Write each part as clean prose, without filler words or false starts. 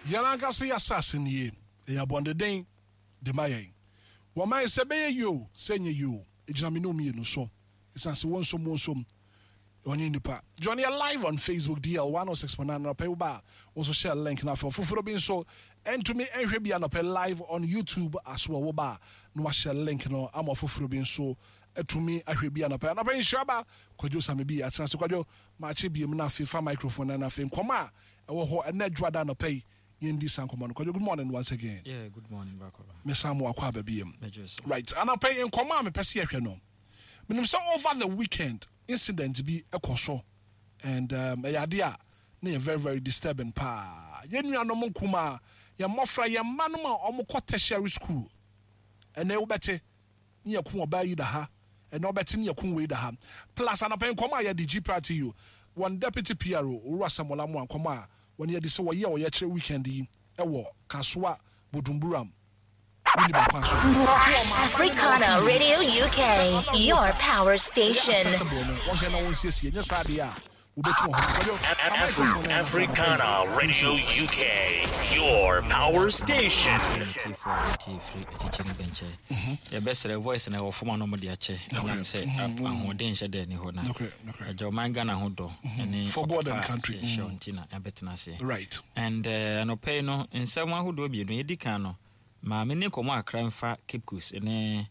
Yɛn ankasa yɛn asase nie, ɛyɛ abɔndeden de ma yɛn. Wɔma yɛn sɛ ɛbɛyɛ yie o, sɛ ɛnyɛ yie o, ɛgyina me ne wo mmienu so. Ɛsiane sɛ wonsom wonsom, wɔne nnipa. Join yɛ live on Facebook DL 106.9 anɔpa yi woba a, wo nso share link no afei ɔfoforɔ bi nso ntumi nhwɛ bi anɔpa yi live on YouTube as well woba a na wahyɛ link no ama ɔfoforɔ bi nso atumi ahwɛ bi anɔpa yi. Anɔpa yi nhyira ba Kwadwo Same bi atena ase Kwadwo makye biem na afei fa microphone no na afei nkɔmmɔ a ɛwɔ hɔ ɛnɛ Dwoada anɔpa yi yɛndi saa nkɔmmɔ no. Kwadwo good morning once again. Yeah, good morning, Brakoba. Mesan mo akɔ aba biem. Mɛgye so. Right, anɔpa yi nkɔmmɔ a mepɛ sɛ yɛhwɛ no, menim sɛ over the weekend incident bi kɔ so and um, ɛyɛ adeɛ a na yɛ very very disturbing paa. Yɛn nuanom nkumaa, yɛn mmɔfra, yɛn mma nom a wɔkɔ tertiary school, ɛnɛ wobɛte ne yɛko ɔbaa yi da ha, ɛnɛ wobɛte ne yɛko wei da ha. Plus anɔpa yi nkɔmmɔ a yɛde GPRTU, wɔn deputy PRO, Owura Samuel Amoah nkɔmmɔ a wɔne yɛde sɛ wɔyɛ ɔyɛkyerɛ weekend yi wɔ Kasoa Bodumburam Winneba kwan so. Africana Radio UK, your power station. Accessible no, wɔnhwɛ na wɔnsiesie, nyɛ saa deɛ a wɔbɛtu wɔn ho. Kwadwo, fa microphone no na Africana Radio UK, your power station. Tiefo a wɔtie firi akyikyi ne bɛnkyɛ. Yɛbɛsrɛ voice na ɛwɔ fam a na wɔde akyɛ ɛnam sɛ ahoɔden nhyɛ dɛ ni hɔ na agya ɔman Ghana ho dɔ ɛne For God and country. yɛhyɛ nti na yɛabɛtena aseɛ. Right. And anɔpa yi no nsɛm ahodoɔ mmienu yɛdi kan no maame ne nkɔmmɔ akra mfa Cape Coast ne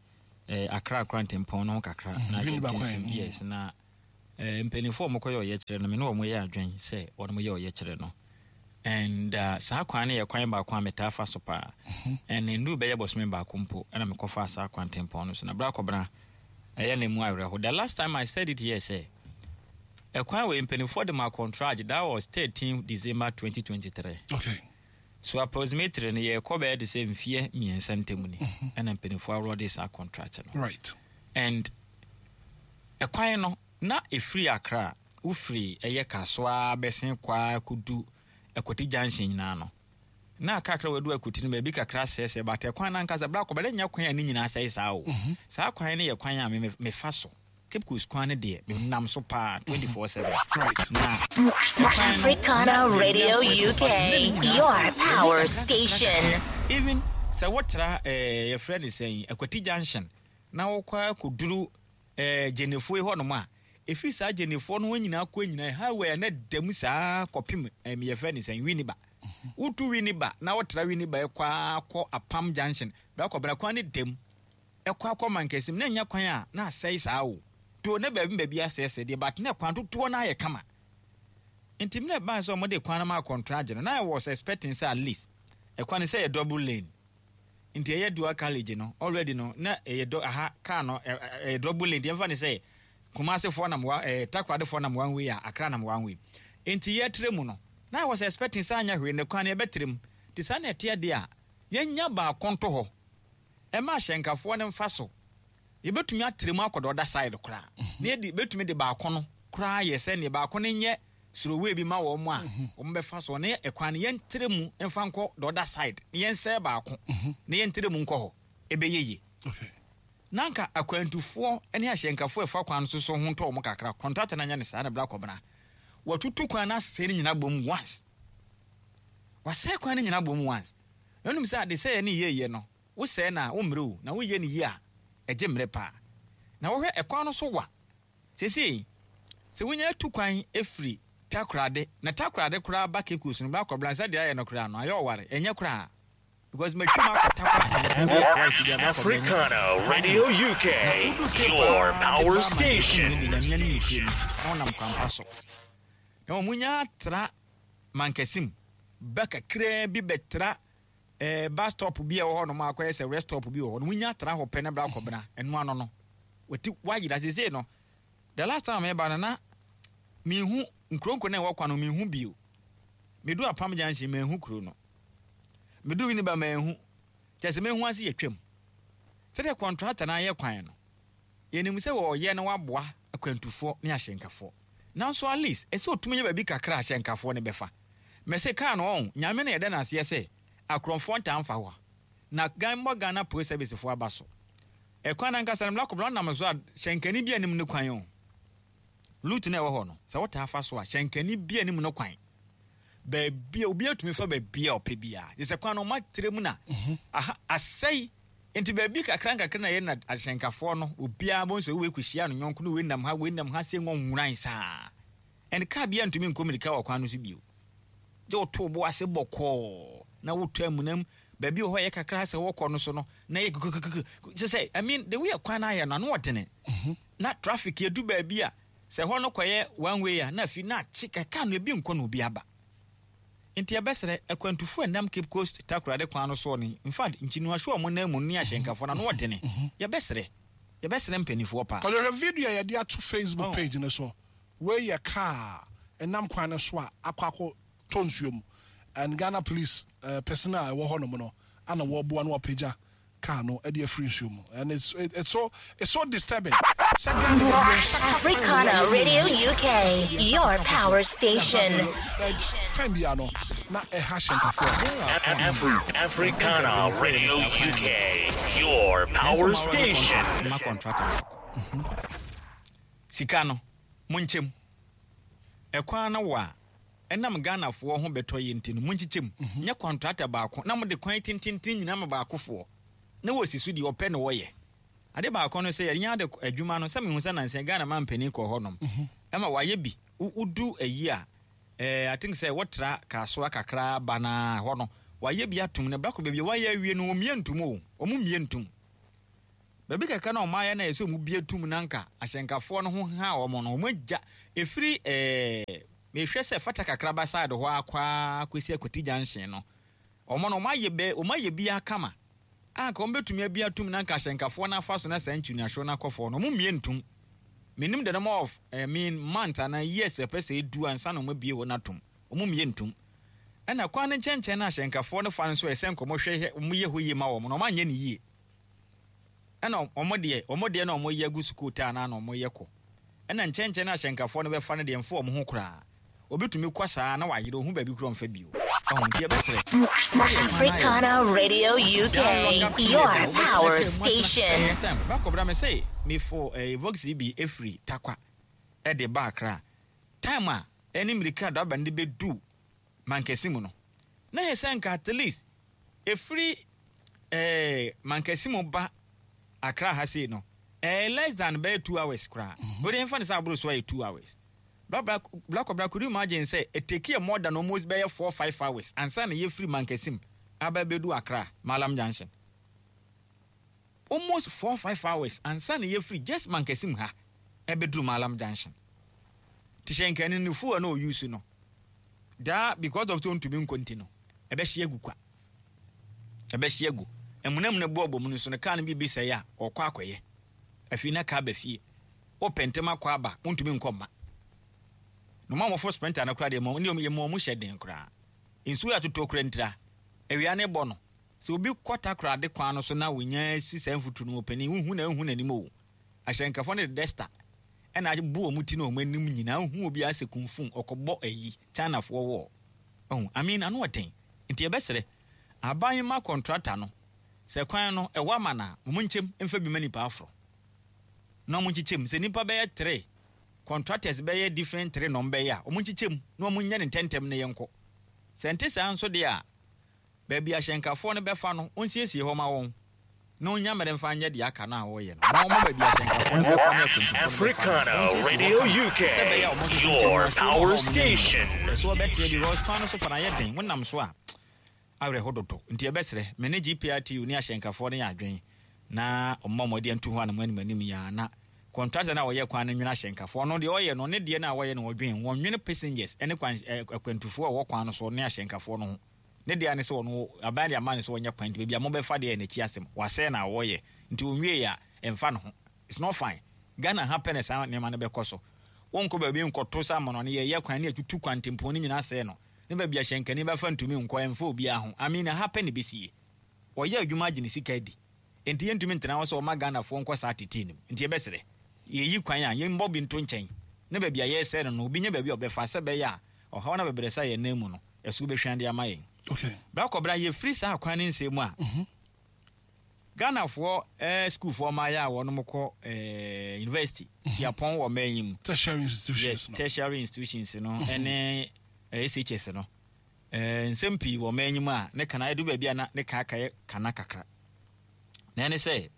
Accra Accra ntempɔn no ho kakra na Winneba yɛnte kwan. nsɛm yes na mpanimfoɔ a wɔkɔyɛ ɔyɛkyerɛ no me ne wɔn yɛ adwen sɛ wɔn yɛ ɔyɛkyerɛ no and saa kwan no yɛ kwan baako a metaa fa so paa and nnuru bɛyɛ bɔsome baako mpo ɛna mekɔfaa saa kwan tempɔn no so na berɛ akɔbena ɛyɛ na mu awerɛho. The last time I said it here sɛ ɛkwan wei mpanimfoɔ de ma contract, that was 13 December 2023. Okay. So approximately no yɛkɔ bɛyɛ de sɛ mfeɛ mmiɛnsa ntam ni ɛna mpanimfoɔ aworɔ de saa contract no. Right. And ɛkwan no na ɛfiri Accra wofiri ɛyɛ Kasoa bɛsen kɔ a kɔdu Akwati Junction nyinaa no na kakra wadu Akwati no baabi kakra sɛesɛe but ɛkwan no ankasa berɛ akɔbɛdɛ nyɛ kwan a ne nyinaa sɛe saa o. Saa kwan no yɛ kwan a me mefa so. Cape Coast kwan no deɛ menam so paa 24/7. Right. Na ɛkwan no Africana na baabi Radio asɛesɛe UK, but na ne nyinaa your sɛe. Baabi power kakra kakra station. kakra. Even sɛ wotra yɛfrɛ no sɛn Akwati Junction na wokɔ akɔduru Gyenefoɔ yi hɔnom a, ɛfiri saa Gyenefoɔ no hɔ nyinaa kɔ nyinaa highway a na da mu saa kɔpem yɛfrɛ no sɛn Winneba. Wotu Winneba na wotra Winneba ɛkɔ ara kɔ Apam Junction, bra kɔ bra kwan no da mu ɛkɔ akɔ Mankasim na ɛnyɛ kwan a na asɛe saa o. To na baabi baabi asɛesɛe deɛ but na kwan dodoɔ no ayɛ kama. Nti mmerɛ ɛbaa sɛ wɔde kwan no maa kɔntragye no na I was expecting sɛ at least ɛkwan no sɛ ɛyɛ double lane. Nti ɛyɛ dual carriage no already no na ɛyɛ dɔ aha car no ɛyɛ double lane nti yɛmfa ne sɛ Kumasi foɔ nam wa ɛɛ Takoradi foɔ nam one way a Accra nam one way nti yɛtrɛ mu no na I was expecting sɛ anyɛ hwee ne kwan no yɛbɛtrɛ mu nti saa na ɛteɛ deɛ a yɛnya baako nto hɔ ɛma ahyɛnkafoɔ no mfa so yɛbɛtumi atrɛ mu akɔ the other side koraa na yɛde bɛtumi de baako no koraa yɛ sɛ neɛ baako no nyɛ Surowee bi ma wɔn a wɔbɛfa so ne ɛkwan no yɛntrɛ mu mfa nkɔ the other side na yɛnsɛe baako na yɛntrɛ mu nkɔ hɔ ɛbɛyɛ yie. Na anka akwantufoɔ ne ahyɛnkafoɔ a ɛfa kwan no so so ho ntɔ wɔn kakra. Kɔntrata no anyɛ no saa na bra kɔbena. Watutu kwan no asɛe no nyinaa bom once. Wasɛe kwan no nyinaa bom once. Na wonim sɛ adesɛeɛ ne yieyɛ no, wosɛe no a wommerɛ o, na woyɛ no yie a ɛgye mmerɛ paa. Na wohwɛ ɛkwan no so wa. Seesei, sɛ wonya tu kwan firi Takoradi, na Takoradi koraa ba Cape Coast no, bɛakɔ Blansa deɛ ayɛ no koraa no, ayɛ ɔware, ɛnyɛ koraa. Because matwam akɔ Tarkwa nansa bi twice bi a bɛakɔ Blansa. Africana Radio UK, Na wodu Cape your paa de power ba Mankasim station. no de Nyame anim nokorɛ ni, na wonam kwampa so. Na mmom wonya tra Mankasim ba kakraa bi bɛtra eh, bus stop bi a ɛwɔ hɔ nom a akɔyɛ sɛ rest stop bi wɔ hɔ no, wonya tra hɔ pɛ na bra kɔbena, ɛno ano no, wati wayera. Seesei no, the last time a meba no na mehu nkuronkuro na ɛwɔ kwan no mehu bio. Medu Apam Junction manhu kuro no. Medu Winneba manhu. Kyerɛ sɛ mehu ase yɛtwam. Sɛdeɛ kɔntrata no ayɛ kwan no, yɛnim sɛ wɔreyɛ na wɔaboa akwantufoɔ ne ahyɛnkafoɔ. Nanso at least ɛsɛ ɔtumi yɛ baabi kakra a ahyɛnkafoɔ no bɛfa. Mese car no ɔn, Nyame na yɛda no aseɛ sɛ akorɔmfoɔ ntaa mfa hɔ a, na Gan mmɔ Ghana Police Service foɔ aba so. Ɛkwan no ankasa no Mlako Bla wonam so a hyɛnkani bi anim no kwan o. Route no a ɛwɔ hɔ no, sɛ wotaa fa so a, hyɛnkani bi anim no kwan. Baabi a obiara tumi fa baabi a ɔpɛ biara. Gye sɛ kwan no wɔatrɛ mu na aha asɛe. Nti baabi kakra nkakra na yɛ na ahyɛnkafoɔ no obiara bɛhu sɛ wei kɔhyia no yɔnko no wei nam ha wei nam ha sei nwɔnworan saa. And kaa biara ntumi nkɔ mmirika wɔ kwan no so bio. Gye woto wo bo ase bɔkɔɔ na wotɔ amuna mu. Baabi wɔ hɔ a ɛyɛ kakra sɛ wɔkɔ no so no na ɛyɛ kukukuku. Kyerɛ sɛ I mean the way a kwan no ayɛ no ano ɔdene. Na traffic yɛdu baabi a Sɛ hɔ no kɔyɛ one way a na afei na akye ka car no ebi nkɔ na obi aba. Nti yɛbɛsrɛ akwantufo a ɛnam Cape Coast Takoradi kwan no soɔ no in fact nkyiniwahyew a wɔn nan mu no ne ahyɛnkafoɔ no ano ɔdene. Yɛbɛsrɛ. Yɛbɛsrɛ mpaninfoɔ paa. Kɔhwɛ video a yɛde ato Facebook page no so. Wei yɛ car a ɛnam kwan no so a akɔ akɔ tɔ nsuo mu and Ghana police personnel a ɛwɔ hɔ nom no ana wɔreboa na wɔapagya car no de afiri nsuo mu and it's it's so it's so disturbing sɛ Ghana yɛde yɛn nsa ka kwan Africana wei a yɛnyɛ Radio yie UK, yɛde yɛn nsa your ka kwan power foforɔ na station. saa time biara no na ɛha hyɛnkafoɔ. Afri- Africana Radio UK, your power station. Ma contractor baako. Sika no, monkyɛ mu. Ɛkwan no wa a, ɛnam Ghanafoɔ ho bɛtɔ yɛ nti no, monkyekyɛ mu. Nyɛ kɔntrata baako na mode kwan tententen nyinaa ma baakofoɔ na wɔsi so deɛ ɔpɛ na ɔyɛ. Ade baako no sɛ yɛnya ade adwuma no, sɛ mehu sɛ nansa yi Ghana mampanin kɔɔ hɔnom ma wɔayɛ bi. Wodu ayi a, eh, I think sɛ wotra Kasoa kakra ba no a, hɔ no, wɔayɛ bi atom no, bɛkɔ baabi a wɔayɛ awie no, wɔmmie ntom o, wɔmmie ntom. Baabi kakra na wɔayɛ no a ɛsɛ sɛ wɔbue tom na anka ahyɛnkafoɔ no ho ha wɔn no, wɔagya. Ɛfiri ɛɛ mehwɛ sɛ fata kakraba side hɔ ara kɔ ara kɔsi Akwati junction no, wɔn no wɔayɛ bɛ wɔayɛ bi ara kama a anka wɔbɛtumi abue atom na anka ahyɛnkafoɔ no afa so na saa nkyunyahyew no akɔ fam no, wɔmmue ntom. Mennim the number of I mean months anaa years a ɛpɛ sɛ ɛdu ansa na wɔabue hɔ no atom. Wɔmmue ntom. Ɛna kwan no nkyɛnkyɛn no a ahyɛnkafoɔ no fa no nso ɛsɛ nka wɔhwɛ wɔyɛ hɔ yie ma wɔn no, wɔanyɛ no yie. Ɛna wɔn deɛ, wɔn deɛ na wɔyɛ gu sukuu taa no ara na wɔyɛ kɔ. Ɛna nkyɛnkyɛn no a ahyɛnkafoɔ no bɛfa no deɛ ɛmfa wɔn ho koraa. Obi tumi kɔ saa na wayere, ɔhu baabi koraa ɔmfa bio. Wahu? Nti yɛbɛsrɛ, sɛdeɛ kwan no ayɛ no, Africana Radio that longer UK, period your a wobɛtumi power atwa mu atena. station. This time, bakɔbra me se mefo eh, Voxy bi firi Tarkwa de ba Accra. Time a ɛne mmirika a driver no de bɛdu Mankɛse mu no, na ɛyɛ sɛ nka at least ɛfiri eh, Mankɛse mu ba Accra ha sei no, ɛyɛ less than bɛyɛ 2 hours koraa. Wode ɛmfa no sɛ aboro so ayɛ 2 hours. Black Cobra, could you imagine sɛ it take yɛ more than almost bɛyɛ 4, 5 hours ansa na yɛfiri Mankɛse mu aba bɛdu Accra, Malam Junction? Almost 4, 5 hours ansa na yɛfiri just Mankɛse mu ha ɛbɛduru Malam Junction. Te hyɛ nkani no fuel na ɔuse no daa because of sɛ ɔntumi nkɔ nti no, ɛbɛhye agu kwa, ɛbɛhye agu amunamuna bu ɔbɔ mu no so no, kaa no bi bi sɛe a ɔkɔ akɔyɛ afei na kaa ba fie, wopɛ ntɛm akɔ aba, wontumi nkɔ mma no ma wɔfo sprinter no koraa deɛ ne yɛ mu ɔmo hyɛ den koraa. Nsuo yɛ atotɔ kura ntira awia ne bɔ no sɛ obi kɔ Takoradi kwan no so na wonya si saa mfuturo no mu panin, wohu na wohu n'anim o. Ahyɛnkafoɔ no de duster ɛna abu wɔn ti na wɔn anim nyinaa, wohu obi asɛ kumfum ɔkɔbɔ ayi Chinafoɔ wɔ ɔho. I mean, ano ɔden nti yɛbɛsrɛ aban ma contractor no sɛ kwan no ɛwɔ ama na wɔn nkyɛm mfa bi ma nipa aforo na wɔn nkyekyɛm sɛ nipa bɛyɛ three contractors, bɛyɛ different three na wɔn bɛyɛ a, wɔn nkyekyɛm na wɔn nyɛ ne ntɛntɛm na yɛnkɔ. Sɛ nte saa nso deɛ a, baabi ahyɛnkafoɔ no bɛfa no, ɔnsiesie hɔ ma wɔn na ɔnya mmerɛ mfa nyɛ deɛ aka no a wɔreyɛ no, na wɔma baabi ahyɛnkafoɔ no bɛfa ne akwantufoɔ no bɛfa no, Africana ɔnsiesie hɔ Radio kama UK, sɛ ɛbɛyɛ a wɔn nso so nkyɛn your no ahyew no power hɔ a wɔn station. nyɛ so wɔbɛteɛ because kwan no so fa no ayɛ den, wonam so a awerɛho dodo. Nti yɛbɛsrɛ me ne GPRTU ne ahyɛnkafoɔ no yɛ adwen na ɔmmɔ mmɔden antu ho anam anim anim yi ara na contractor no a ɔyɛ kwan no nwene ahyɛnkafoɔ no deɛ ɔyɛ no ne deɛ no a wɔyɛ no wɔdwen wɔnwene passengers ne kwan akwantufoɔ a wɔwɔ kwan no so ne ahyɛnkafoɔ no ho. Ne deɛ ne sɛ ɔno aban de ama no sɛ ɔnyɛ kwan, nti baabi a mobɛfa deɛ yɛ n'akyi asɛm, wasɛe na wɔyɛ nti ɔnwie a ɛmfa ne ho. It's not fine. Ghana ha pɛ na saa nneɛma no bɛkɔ so. Wonkɔ baabi nkɔto sɛ amɔnɔne yɛyɛ kwan ne yɛtutu kwantempɔn no nyinaa sɛe no ne baabi a hyɛnkani bɛfa ntumi nkɔ, ɛmfa obiara ho. I mean, ha pɛ na ɛbɛsie. Ɔyɛ adwuma agye ne sika adi nti yɛntumi ntena hɔ sɛ ɔma Ghanafoɔ nkɔ saa tetee no mu. Nti yɛbɛsrɛ, yɛyi kwan a yɛmmɔ bi nto nkyɛn na baabi a yɛresɛe no no obi nya baabi a ɔbɛfa sɛ ɛbɛyɛ a ɔhaw no abɛbrɛsɛ a yɛn nan mu no ɛso bɛhwan de ama yɛn. Bra kɔbra yɛfiri saa kwan no nsɛm mu a, Ghanafoɔ sukuufoɔ mmaayɛ a wɔnom kɔ university, suapɔn wɔ mmaa yi mu. Tertiary institutions no. Yes, tertiary institutions no ɛne SHS no. Eh, nsɛm pii wɔ ɔman yi mu a ne kana edu baabi a na ne ka akɛyɛ kana kakra. Na ɛne sɛ,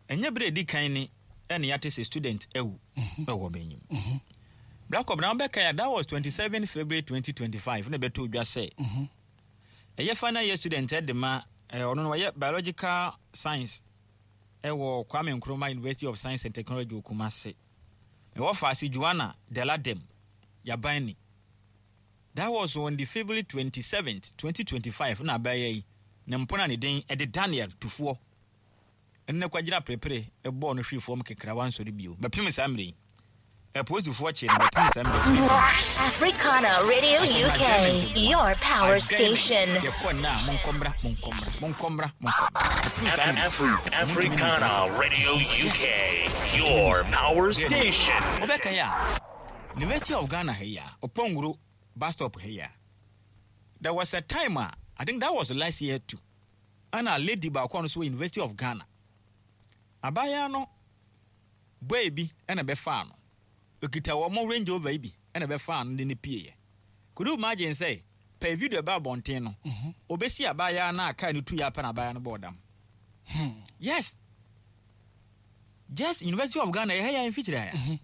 ɛnyɛ bere a edi kan ni ɛna yɛate sɛ student awu wɔ ɔman yi mu. Black Cobra, na wobɛkae a, that was 27 February 2025 na ɛbɛtoo dwa sɛ ɛyɛ final year student de ma ɔno no ɔyɛ biological science ɛwɔ Kwame Nkrumah University of Science and Technology wɔ Kumasi. Ɛwɔ Faase Joanna Deladem Yabani. That was on the February 27th, 2025 na abaayewa yi ne mpona a ne din de Daniel Tufoɔ ne no kɔgyina perepere bɔɔ no hwee fam kekra wansɔre bio bɛpem saa mmerɛ yi. Apolisifoɔ kyee no bɛpem saa mmerɛ yi. Africana Radio UK, your power station. Yɛkɔ nna a monkɔ mmra, monkɔ mmra, monkɔ mmra, monkɔ mmra. Bɛpem saa mmerɛ yi. Wɔntumi nni saa Africana asɛm. Radio Yes. UK, your Wɔntumi nni saa asɛm. power station. Wobɛkae a, University of Ghana ha yi a, Oponguru bus stop ha yi a, there was a time a, I think that was last year too, ɛna lady baako a ɔno nso wɔ University of Ghana, abaayewa no boy bi ɛna bɛfaa no, okita wɔn Range Rover yi bi ɛna bɛfaa no de no pieeɛ. Could you imagine sɛ pɛɛ video ɛbaa abɔnten no, obesi abaayewa no a car no tuiɛ apɛ na abaayewa no bɔɔ dam. Yes. Just University of Ghana, ɛha yi a mfikyire ha yi a.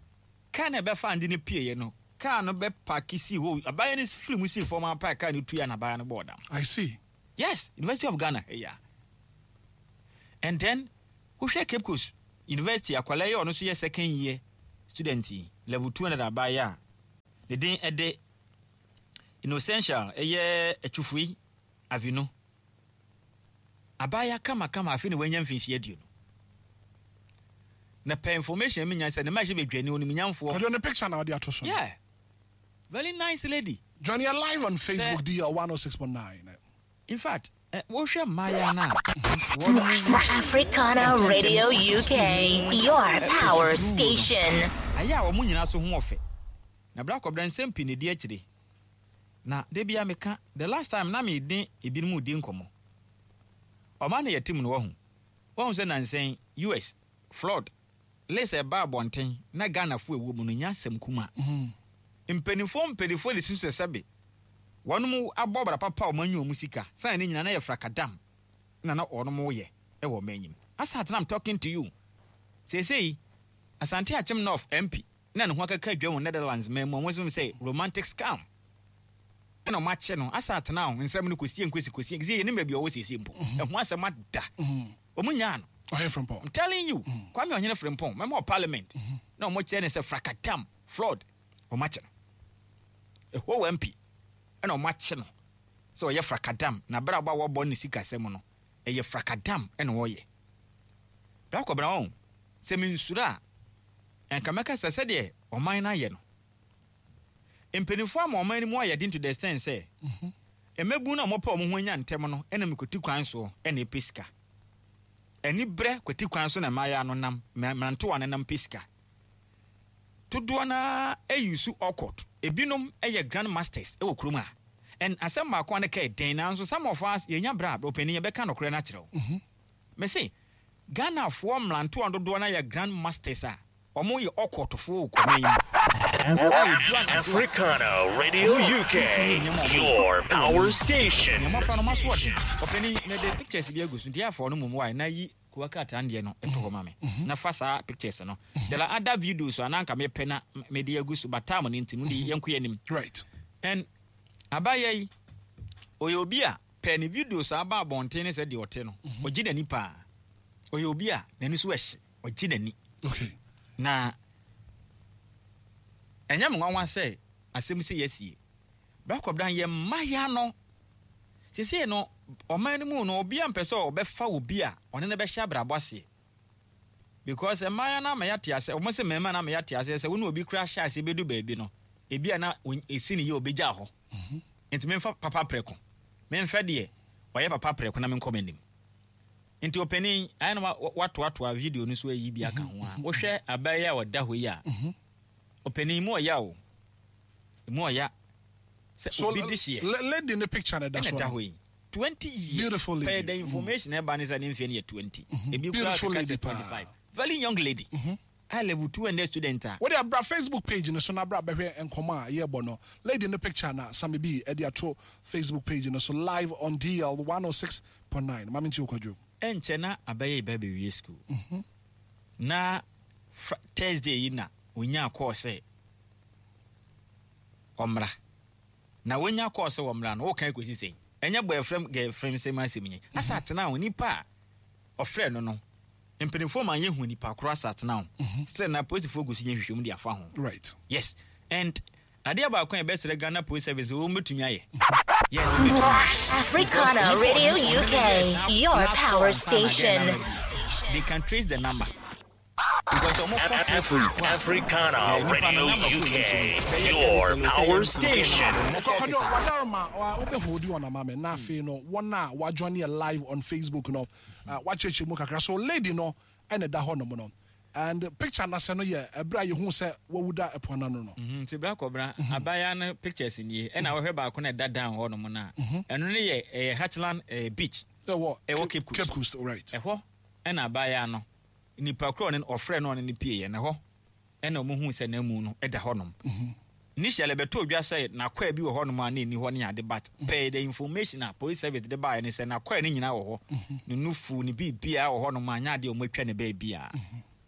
Kaa no a ɛbɛfaa no de no pueeɛ no, kaa no bɛpaake sii hɔ. Abaayewa no firi mu sii fam ara pɛ a kaa no tuiɛ na abaayewa no bɔɔ dam. I see. Yes, University of Ghana, yeah. And then, wohwɛ Cape Coast University, akwadaa yi a ɔno nso yɛ second year student yi, level 200 abaayewa a ne din de Innocential, ɛyɛ Atwufui Avinu. Abaayewa kamakama afei na wanya mfinhyia 20. Na pɛ information mi nya sɛ ne mma hyɛ badwani onimnyamfoɔ. Ɔde ne picture na ɔde ato so. Yeah. Very nice lady. Join yɛ live on Facebook DL 106.9. In fact, wohwɛ mmaayewa no a wɔn Africana Radio UK, your power station. Ayɛ a wɔn nyinaa so ho ɔfɛ. Na bra kɔbra nsɛm pii na edi akyire. Na da biara meka, the last time na me ne ebinom redi nkɔmmɔ. Ɔman na yɛte mu no wahu. Wahu sɛ nansa yi US flood list a ɛbaa abɔnten na Ghanafo a ɛwɔ mu no nyɛ asɛm kuma. Mpaninfoɔ mpaninfoɔ de susu sɛ sɛbe wɔnom abɔ bra papa a wɔn anya wɔn sika sane ne nyinaa na yɛ frakadam na na wɔnom yɛ wɔ ɔman yi mu. As at now I'm talking to you, seesei Asante Akyem North MP na ne ho akeka dwam wɔ Netherlands man mu a wɔn sɛ romantic scam ɛna wɔn akye no asa atena ho nsɛm no kɔsie nkosi kɔsie kɔsie yɛnim baabi ɔwɔ siesie mpo ɛho asɛm ada wɔn nyaa no. Ɔhene Frimpong. I'm telling you Kwame Ɔhene Frimpong mɛma wɔ parliament na wɔn kyerɛ ne sɛ frakatam flood wɔn akye no ɛhɔ wɔ MP ɛna wɔn akye no sɛ ɔyɛ frakadam na abere a wɔbɔ ne sikasɛm no ɛyɛ frakadam ɛna ɔyɛ bra kɔbra wɔn sɛ mensuro a Anka mɛka sɛ sɛdeɛ ɔman no ayɛ no, mpanimfoɔ ama ɔman no mu ayɛ den to the extent sɛ mmabun no a wɔpɛ wɔn ho anya ntɛm no nam kwati kwan soɔ na ɛpɛ sika. Aniberɛ kwati kwan so na mmaayewa no nam, mmerantewa no nam pɛ sika. Dodoɔ no ara use awkward. Ebinom yɛ grand masters wɔ kurom ha. And asɛm baako a na ɛka yɛ den nanso some of us yɛnya berɛ a, ɔpanin yɛbɛka nokorɛ no akyerɛ wo. Mese Ghanafoɔ mmerantewa dodoɔ no ara yɛ grand masters a wɔn yɛ ɔkɔɔtofoɔ wɔ kɔma yi mu. A ɛdu anadwo a, Africana Radio wɔn wɔ UK, sunsum nneɛma a wɔyɛ your wɔ power mu. station. Nea mmɔfra no wɔn aso ɔden. Ɔpanin, mede pictures bi agu so nti afa ɔno mmom wae na yi kowa krataa no deɛ no to hɔ ma me na fa saa pictures no. There are other videos a na anka mepɛ na mede agu so but time no nti no de yɛnkɔ yɛn anim. Right. And abaayewa yi, ɔyɛ obi a Pɛ ne videos a aba abɔnten ne sɛ deɛ ɔte no, ɔgye n'ani paa. Ɔyɛ obi a n'ani so ɛhye, ɔgye n'ani. Okay. Na ɛnyɛ me nwanwa sɛ asɛm sei asie. Bra Kɔbran, yɛn mmayewa no, seesei no, ɔman no mu no, obiara mpɛ sɛ ɔbɛfa obi a ɔne no bɛhyɛ abrabɔ aseɛ. Because mmayewa no ama yɛate aseɛ, wɔn se mmarima no ama yɛate aseɛ sɛ wo ne obi koraa hyɛ aseɛ bɛdu baabi no, ebi a na ɛsi ne yie ɔbɛgyaa hɔ. Nti memfa papa prɛko. Memfa deɛ ɔyɛ papa prɛko na menkɔ m'anim. Nti ɔpanin, ayɛ na watoatoa video no so ayi bi aka ho a, wohwɛ abaa yi a ɔda hɔ yi a, ɔpanin mu ɔya o. Mu ɔya. Sɛ So obi de hyeɛ. lady ne picture na ɛda Ɛna so ɛda no. hɔ yi. 20 years. Beautiful lady. Pɛɛ the information ɛba ne sɛ ne mfeɛ no yɛ 20. Ebi koraa Beautiful keka lady sɛ paa. 25. Very young lady. A level 200 student a. Wode bra Facebook page no so na bra bɛhwɛ nkɔmmɔ a yɛrebɔ no. Lady no picture na Sammy B de ato Facebook page no so live on DL 106.9. Ma mentie wo Kwadwo. Ɛnkyɛ na abɛyɛ ba bɛwie school. Na Fri Thursday yi na ɔnyaa call sɛ ɔmmra. Na wanya call sɛ ɔmmra no, woka kɔsi sɛn? Ɛnyɛ boyfriend girlfriend sɛm asɛm yi. Asa atena ho, nipa a ɔfrɛ no no, mpanimfoɔ ma yɛhu nipa korɔ asa atena ho. Sɛ na polisifoɔ gu so yɛ nhwehwɛmu de afa ho. Right. Yes. And adeɛ baako a yɛbɛsrɛ Ghana Police Service wɔn bɛtumi ayɛ. Yes, wɔn bɛtumi ayɛ. Africana Radio UK, your power station. They can trace the number. Because ɔmo kɔ Afri- Africana Radio UK, your power station. Kwadwo, wadaroma, wobɛhold on ama me. Na afei no, wɔn a wɔajoin yɛ live on Facebook no, wakyerɛkyerɛ mu kakra. So lady no ɛna ɛda hɔ nom no. And picture n'asɛ no yɛ ɛberɛ a yɛhu sɛ wawu da ɛpo ano no. Nti bra kɔbra abaayewa no pictures nie, ɛna wɔhwɛ baako na ɛda down hɔ nom no a, ɛno no yɛ ɛyɛ Hatchland Beach. Ɛwɔ Ɛwɔ Cape Coast. Cape Coast, right. Ɛhɔ ɛna abaayewa no nipa korɔ ne ɔfrɛ no ɔne ne pie yɛ na hɔ ɛna ɔmo hu sɛ n'amu no ɛda hɔ nom. Initially bɛtɔ odwa sɛ n'akɔɛ bi wɔ hɔ nom a na ɛni hɔ ne ade, but pɛɛ the information a police service de baeɛ ne sɛ n'akɔɛ no nyinaa wɔ hɔ. Ne nufu ne biribiara wɔ hɔ nom a nyɛ adeɛ a ɔmo atwa ne baabiara.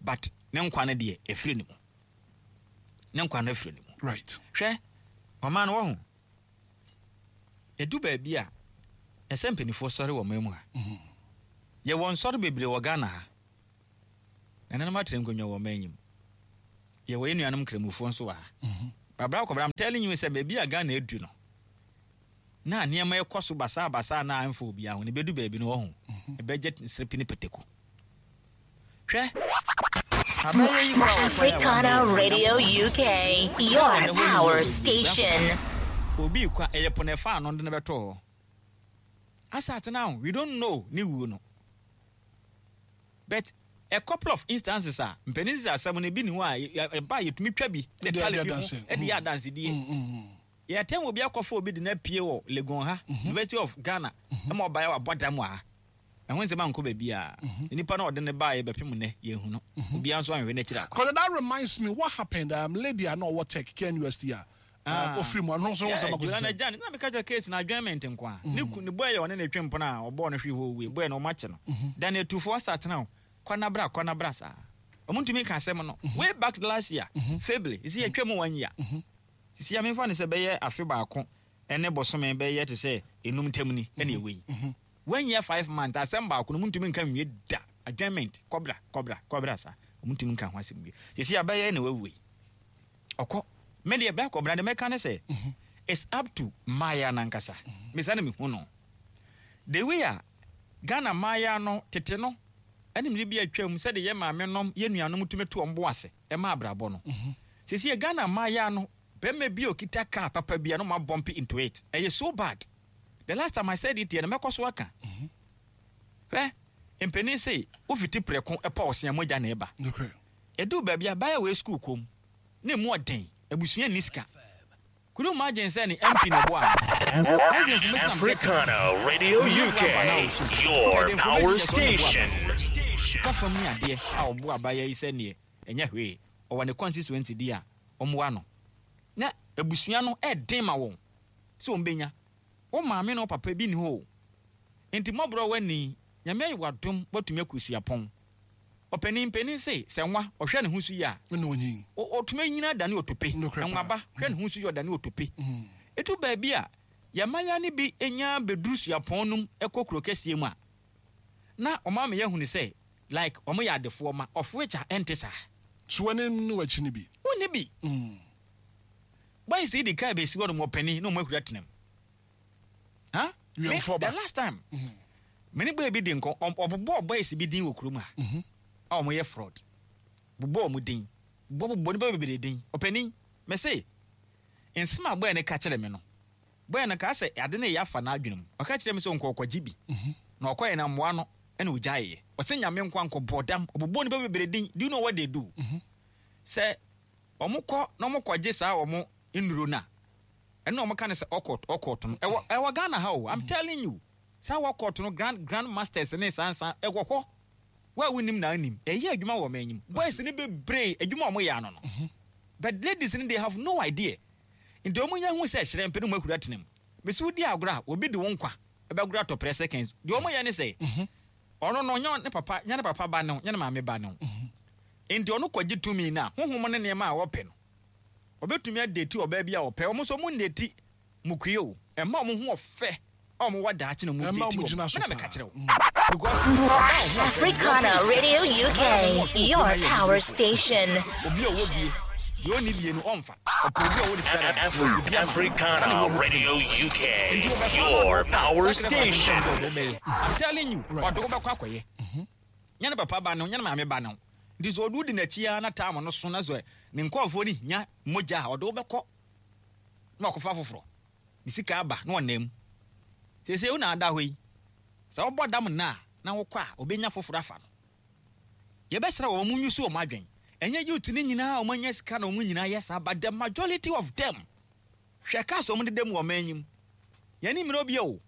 But ne nkwa no deɛ ɛfiri ne mu. Ne nkwa no afiri ne mu. Right. Hwɛ, ɔman no wɔ ho. Ɛdu baabi a ɛsɛ mpanimfoɔ sɔre wɔ man mu ha. Yɛwɔ nsɔre bebree wɔ Ghana ha. Nananom atena nkonnwa wɔ ɔman yi mu. Yɛwɔ yɛn nuanom nkramofoɔ nso wɔ ha. Babra kɔbra, I'm telling you sɛ baabi a Ghana adu no, na nneɛma ɛkɔ so basaa basaa na amfa obiara ho no, ɛbɛdu baabi no wɔ ho. Ɛbɛgye nsrepi ne pɛtɛku. Hwɛ, abɛyɛ yi kora wɔ kwan a Africana wɔn Radio UK, your power station. Obi kwa ɛyɛ po na ɛfa ano de no bɛtɔ hɔ. Asate now we don't know ne wuo no. But a couple of instances a mpanin sɛ asɛm no ebi ni hɔ a ɛba a yɛtumi twa bi de Ɛde tale adi bi ho adanse. ɛde yɛ adansedie. Yɛtɛn obi akɔfa obi de no apue wɔ Legon ha, University of Ghana, ɛma ɔbaeɛ wabɔ dam wɔ ha. Ɛho nsɛm ankɔ baabi a nipa na ɔde ne baeɛ bɛpem nnɛ yɛnhu no. Obiara nso anhwɛ n'akyiri akɔ. Because that reminds me what happened lady a na ɔwɔ Tech KNUST a ofiri mu ano nso Yeah, sɛ Joanna Jan, na meka kyerɛ case na adjournment nko a. Ne ku ne boy yɛ ɔne ne twe mpona a ɔbɔɔ no hwee hɔ owie. Boy no ɔmo akye no. Dan etufo asatena o. Kɔ na bra, kɔ na bra saa. Ɔmo ntumi nka asɛm no. Way back last year, February, sisi yɛtwa mu 1 year. Sisi ya memfa ne sɛ bɛyɛ afe baako ɛne bɔsome bɛyɛ te sɛ enum ntam ni ɛne ɛwɔ yi. 1 year 5 months asɛm baako no ɔmo ntumi nka nwie da. Adjournment, kɔbra, kɔbra, kɔbra saa. Ɔmo ntumi nka ho asɛm wie. Sisi ya bɛyɛ na wawu yi. Ɔkɔ. Me deɛ bɛɛ kɔbra de mɛka ne sɛ it's up to mmayewa nankasa. Mesa na mehu no. The way a Ghana mmayewa no tete no ɛne mmere bi atwam sɛde yɛ maame nom yɛ nuanom tumi to wɔn bo ase ɛma abrabɔ no. Sisi yɛ Ghana mmayewa no bɛrima bi a okita car papa bi a no ma bump into it. Ɛyɛ so bad. The last time I said it yɛ no mɛkɔ so aka. Hwɛ, mpanin se wofiti prɛko ɛpɔ ɔsea mogya na ɛba. Okay. Ɛdu baabi a baya wɔ school kom na emu ɔden abusua nni sika. Could you imagine sɛ ne MP na ɛboa no? That's the information I'm getting. Africana Radio UK, your power station. Ka fam ne adeɛ a ɔboa abaayewa yi sɛ neɛ ɛnyɛ hwee ɔwɔ ne constituency di a ɔmmoa no. Na abusua no ɛden ma wɔn sɛ wɔn bɛnya. Wo maame ne wo papa bi ni hɔ o. Nti mmɔborɔ w'ani, Nyame ayɛ w'adom woatumi akɔ suapɔn. Ɔpanin panin se sɛ nwa ɔhwɛ ne ho so yie a, Ɛna onyin. ɔtumi nyina dane otope. Nokorɛ paa. Nwaba hwɛ ne ho so yie ɔdane otope. Ɛdu baabi a yɛmaya no bi nya bɛduru suapɔn nom ɛkɔ kuro kɛseɛ mu a, na ɔma me yɛhunu sɛ like ɔmo yɛ adefoɔ ma of which a ɛnte saa. So w'ani ne w'akyi ne bi. Wonni bi. Boys yi di kaa bɛsi hɔ nom ɔpanin na ɔmo ahura tenam. Huh? Me, Wiɛmfoɔ ba. the last time me ne boy bi di nkɔ ɔbobɔɔ boys bi din wɔ kurom ha a ɔmo yɛ fraud. Bobɔɔ ɔmo din. Bobɔ nipa bebree din. Ɔpanin, me se nsɛm a boy no ka kyerɛ me no, boy no ka sɛ ade no yɛ afa n'adwene mu. Ɔka kyerɛ me sɛ ɔnkɔ ɔkɔgye bi. Na ɔkɔyɛ na mmoa no ɛna ogyaeɛ. Ɔsɛ Nyame nko ankɔ bɔ dam. Ɔbobɔɔ nipa bebree din. Do you know what they do? Sɛ ɔmo kɔ na ɔmo kɔgye saa ɔmo nnuro no a, ɛno ɔmo ka no sɛ ɔkɔt ɔkɔt no ɛwɔ Ghana ha o. I'm telling you. Saa ɔkɔt no grand masters ne saa nsa ɛwɔ hɔ. Wo a wonnim na wonim. Ɛyɛ adwuma wɔ ɔman yi mu. Boys no bebree, adwuma a wɔyɛ ano no. But ladies no, they have no idea. Nti wɔn nya hu sɛ hyerɛn pɛ na wɔn ahuri atena mu. Mese wodi agorɔ a, obi de wo nkwa bɛgoro atɔ prɛ seconds. Deɛ wɔyɛ ne sɛ, ɔno no, nyɛ ne papa, nyɛ ne papa ba ne wo, nyɛ ne maame ba ne wo. Nti ɔno kɔgye tumi no a, honhom ne nneɛma a ɔpɛ no, ɔbɛtumi adeti ɔbaa bi a ɔpɛ. Wɔn nso wɔn nneti mukue o. Ɛma wɔn ho ɔfɛ a wɔn wɔ daakye na wɔn Ɛma deti wɔn wɔn. gyina so Me na meka paa. kyerɛ wo. Because ɔbaa a ɔho ɔfɛ no, deɛ ɔpɛ Africana ne sika. Radio Mmaa a UK, wɔn ho ɔfɛ wɔ your kurom ha yɛ power animuonyamfoɔ. station. Obi a ɔwɔ bie, deɛ ɔnni bie no ɔmfa. Ɔpɛ obi a ɔwɔ ne sika dada. Obi ama no. Saa na Africana ɛwɔ wɔn tirim. Radio UK, Nti wɔbɛfa no ɔde your wo kɔ a, power sacrifice no station. ntam deɛ ɔde wo bɛyɛ. I'm telling you, Right. ɔde wo bɛkɔ akɔyɛ. Nyɛ ne papa ba ne wo, nyɛ ne maame ba ne wo. Nti sɛ ɔde wo di n'akyi ara na time no so na sɛ ne nkurɔfoɔ no hia mogya a, ɔde wo bɛkɔ na wakɔfa foforɔ. Ne sika aba na ɔnam mu. Seesei wo na ada hɔ yi, sɛ wobɔ dam nnɛ a na wokɔ a, ɔbɛnya foforɔ afa no. Yɛbɛsrɛ wɔn, wɔn use wɔn adwen. Ɛnyɛ youth no nyinaa a wɔn anya sika na wɔn nyinaa yɛ saa, but the majority of them. Hwɛ cars a wɔn deda mu wɔ ɔman yi mu. Yɛn ani mmere obi o.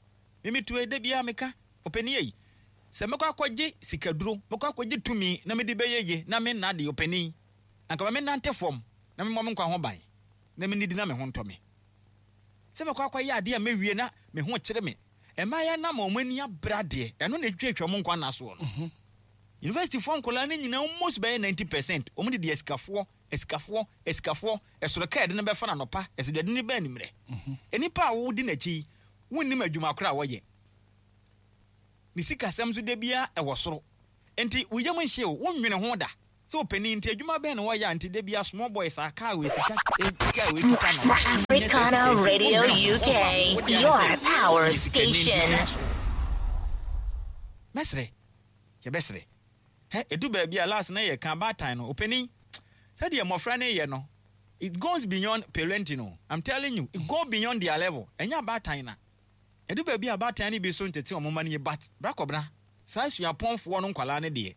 Me me tue da biara meka, ɔpanin ei, sɛ mɛkɔ akɔgye sikaduro, mɛkɔ akɔgye tumi na mede bɛyɛ ye na me nna deɛ, ɔpanin, anka ma me nante fam na memmɔ me nkwa ho ban na mennidi na me ho ntɔ me. Sɛ mɛkɔ akɔyɛ adeɛ a mɛwie na me ho kyere me. Mmayewa no ama wɔn ani abere adeɛ, ɛno na ɛtwitwatwa wɔn nkwa nna soɔ no. Universityfoɔ nkwadaa no nyinaa almost bɛyɛ 90% wɔn didi asikafoɔ, asikafoɔ, asikafoɔ, ɛsoro kaa yɛde no bɛfa no anɔpa, ɛsoro deɛ yɛde no ba anwummerɛ. Nnipa a wodi n'akyi yi, wonnim adwuma korɔ a wɔyɛ. Ne sikasɛm nso da biara ɛwɔ soro. Nti wo yam nhye wo, wonnwene ho da sɛ ɔpanin nti adwuma bɛn na wɔyɛ a nti da biara small boy saa kaa wei sika kaa wei kita no. Africana Radio UK, your power station. Mɛsrɛ, yɛbɛsrɛ. Hɛ, ɛdu baabi a last na yɛka abaatan no, ɔpanin, sɛdeɛ mmɔfra no yɛ no, it goes beyond parenting o. I'm telling you, it go beyond their level. Ɛnyɛ abaatan na. Ɛdu baabi a abaatan no bi so ntete wɔn mma no yie but bra kɔbena, saa suapɔnfoɔ no nkwadaa no deɛ,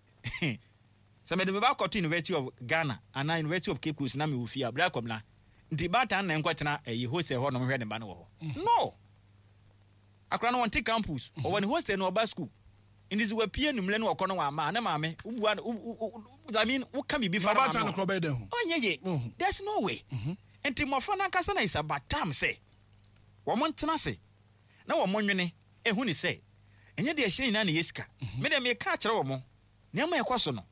sɛ mede me ba kɔto University of Ghana anaa University of Cape Coast na mewɔ fie a, bra kɔbena, nti baatan na nkɔtena ɛyi hostel hɔ nom hwɛ ne ba no wɔ hɔ. No! Akwadaa no ɔnte campus, ɔwɔ ne hostel na ɔba school. Nti sɛ wapue anwummerɛ na ɔkɔ no wamma a, ne maame, wobua no, wo, wo, I mean, woka biribi fa Na ne maame ɔbaatan no ho. korɔ bɛyɛ dɛn ho? Ɔnyɛ ye. There's no way. Nti mmɔfra no ankasa na it's about time sɛ wɔn ntena ase na wɔn nwene ehu ne sɛ ɛnyɛ deɛ ɛhyerɛn nyinaa na ɛyɛ sika. Me deɛ meka akyerɛ wɔn, nneɛma a ɛkɔ so no,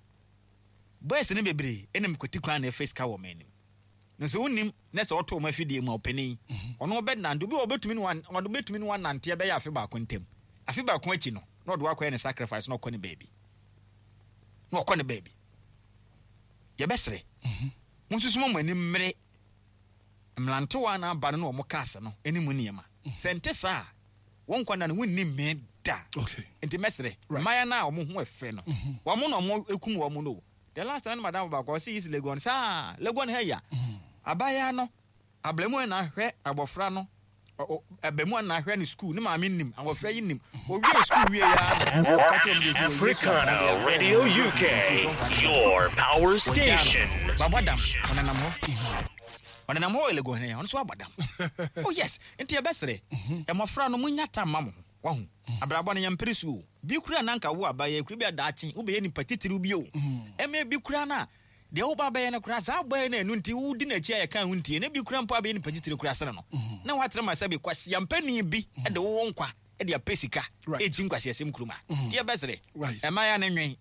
boys no bebree ɛnam kwati kwan na ɛfa sika wɔ wɔn anim. Na sɛ wonnim na sɛ ɔto wɔn afidie mu a, ɔpanin, ɔno ɔbɛnante, obi wɔ hɔ ɔbɛtumi ne wɔn, ɔbɛtumi ne wɔn anante ɛbɛyɛ afe baako ntam. Afe baako akyi no, na ɔde wakɔyɛ ne sacrifice na ɔkɔ ne baabi. Na ɔkɔ ne baabi. Yɛbɛsrɛ, monsusu mo ani mmere mmerantewa na aba no na wɔn cars no ne mu nneɛma. Sɛ nte saa a, wɔn nkwa nna no wonni mmee da. Okay. Nti mɛsrɛ, Right. mmayewa no a wɔn ho ɛfɛ no, wɔn na wɔn ekum wɔn no o. The last time na madamfo baako ɔse East Legon saa Legon ha yi a, abaayewa no abarimaa na ahwɛ abɔfra no, abarimaa na ahwɛ no school, ne maame nim, abɔfra yi nim. Owie school wie ya na ɔka kyerɛ wɔn sɛ owie school a, Africana ɔde akɔ Radio wɔn UK, nsuo your power Wɔgyaa no. station. Wabɔ dam, ɔnenam hɔ. Ɔnenam hɔ wɔ Legon ha yi, ɔno nso abɔ dam. Oh yes, nti yɛbɛsrɛ, mmɔfra no monnya tam mma mo ho. Wahu? Abrabɔ no, yɛmpere so o. Bi koraa na anka wo aba yɛ kura bi a daakye wobɛyɛ nipa titiriw bi o. Ɛmɛ bi koraa na deɛ woba abɛyɛ no koraa saa bɔyɛ no ɛno nti wodi n'akyi a yɛka ho ntie na bi koraa mpo abɛyɛ nipa titiriw koraa sene no. Na woatrɛ ma sɛbe kwaseampani bi de wo wo nkwa de apɛ sika ɛrekyi nkwaseasɛm kurom a. Nti yɛbɛsrɛ, mmayewa no nwen,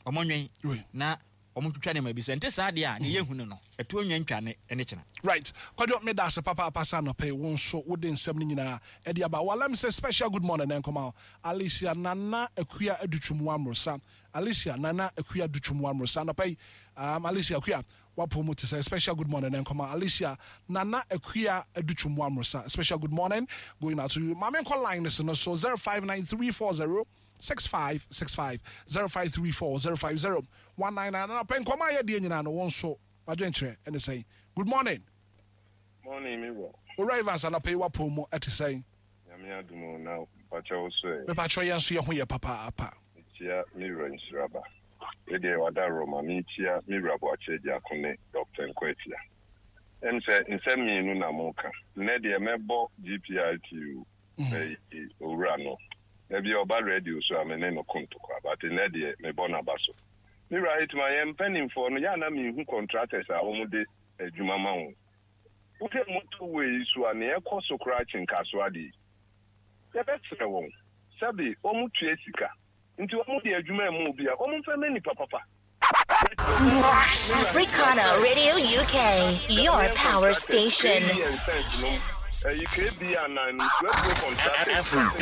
wɔn nwen na wɔn twitwa nneɛma bi so. Ɛnte saa deɛ a, deɛ yɛhu no no, ɛtoɔ nwa ntwa ne ne kyena. Right. Kwadwo, meda ase papaapa sɛ anɔpa yi wo nso wode nsɛm no nyinaa de aba. Well, let me say special good morning nkɔma wo. Alicia Nana Akua Adutwum Wamrosa. Alicia Nana Akua Adutwum Wamrosa. Anɔpa yi, Alicia Akua, wapɔ mu te sɛ special good morning nkɔma Alicia Nana Akua Adutwum Wamrosa. Special good morning going out to you. Maame nkɔ line no so no so 059340 6565 0534 050 199. Anɔpa nkɔmɔ a yɛdeɛ nyinaa no, wo nso wadwenkyerɛ ɛne sɛn? Good morning. Morning, me wura. Owura Evans, anɔpa yi wapɔ mu ɛte sɛn? Nyame adom o, na mpakyɛ wo so ɛ? Mepakyɛ yɛn nso yɛ ho yɛ papaapa. Mekyia me wura Nhyiraba. Wei deɛ wada Roma. Mekyia me wura Boakye Agyarko ne Doctor Nkoatia. Ɛm sɛ nsɛm mmienu na moka. Nnɛ deɛ mɛbɔ GPRTU bɛyi owura no. Da bi ɔba radio so a me ne no ko ntokwa but nnɛ deɛ mebɔ n'aba so. Me wura Hitman, yɛn mpanimfoɔ no, yɛ a na menhu contractors a wɔde adwuma ma wɔn. Wohwɛ motorway yi so a, nea ɛkɔ so koraa kyen Kasoa deɛ yi. Yɛbɛsrɛ wɔn, sɛbe wɔtua sika nti wɔde adwuma rema obi a, wɔmfa mma nnipa papa. Africana Radio UK, your power station.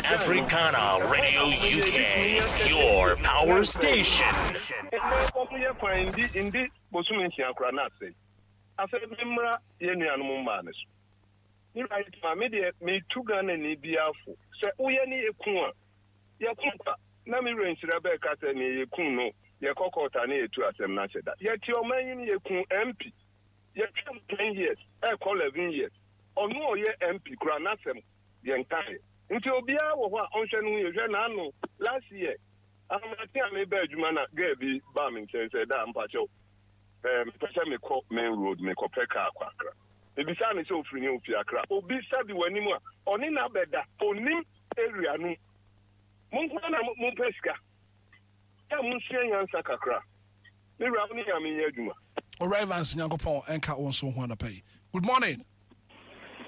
Africana Radio UK, your power station. Yɛ kwan ndi ndi bosome nsia koraa na asɛe. Afei memmra yɛn nuanom mmaa no so. Me wura Hitman, me deɛ metu Ghanani biara fo sɛ woyɛ ne yɛku a, yɛko kwa. Na me wura Nhyira bɛka sɛ neɛ yɛku no yɛkɔ court a na yɛtu asɛm no ahyɛ da. Yɛte ɔman yi mu yɛku MP, yɛtwam 10 years ɛrekɔ 11 years, ɔno a ɔyɛ MP koraa n'asɛm yɛnkaeɛ. Nti obiara wɔ hɔ a ɔnhwɛ ne ho yie. Hwɛ n'ano last year ahomakye a meba adwuma na girl bi baa me nkyɛn sɛ daa mpakyɛw eh, mepɛ sɛ mekɔ main road mekɔpɛ kaa kɔ Accra. Mebisaa no sɛ ofiri he? Ofi Accra. Obi sabi w'anim a ɔne no abɛda, onnim area no mu. Mo nko ara na mopɛ sika. Yɛ a monsua nyansa kakra. Me wura wo ne Nyame nyɛ adwuma. Owura Evans Nyankopɔn nka wo nso ho anɔpa yi. Good morning.